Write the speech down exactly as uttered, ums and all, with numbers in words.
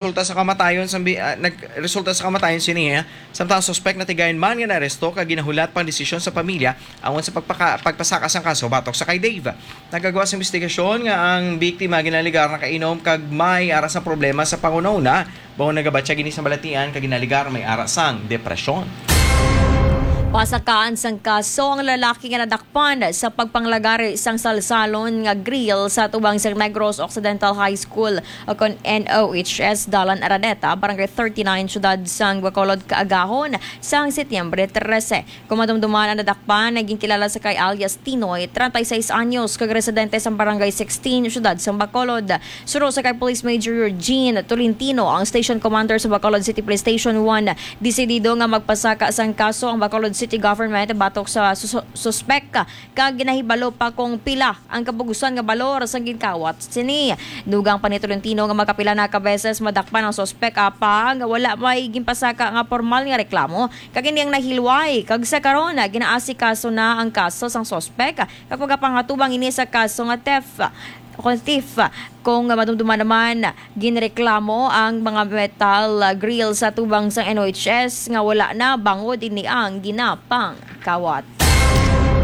resulta sa kamatayon sa bi-, ah, nagresulta sa kamatayon sini, eh. Samtang ang suspek natigayon man nga naaresto kag ginahulat pang desisyon sa pamilya awan sa pagpaka-, pagpasaka sang kaso batok sa kay Dave. Nagagawa sa investigasyon nga ang biktima ginaligar nakainom kag may ara sa problema sa panghunahuna, bago nagabatya gini sa balatian kag ginaligar may ara sang depresyon. Pasakaan sang kaso ang lalaki nga nadakpan sa pagpanglagari sang salsalon nga grill sa atubang sa Negros Occidental High School o kon N O H S, Dalan Araneta, Barangay thirty-nine, Siyudad sang Bacolod, kaagahon sang Setyembre trese. Kung madumduman, ang nadakpan nga ginkilala sa kay alias Tinoy, treinta y seis anyos, kag residente sa Barangay sixteen, Siyudad sang Bacolod. Suno sa kay Police Major Eugene Tolentino, ang Station Commander sa Bacolod City Police Station one, desidido nga magpasaka sang kaso ang Bacolod City Government batok sa sus-, suspek, kag ginahibalo pa kung pila ang kapugusan nga balor sang ginkawat sini. Dugang pa ni Tolentino nga makapila na ka beses madakpan ang suspek, apang wala may ginpasaka nga pormal nga reklamo, kag ini ang nahilway, kag sa karon ginaasikaso na ang kaso sang suspek, kag magapangatubang ini sa kaso nga theft. Kung thief, kung madumduman naman, ginreklamo ang mga metal grill sa tubang sang N O H S nga wala na bangod ini ang ginapangkawat.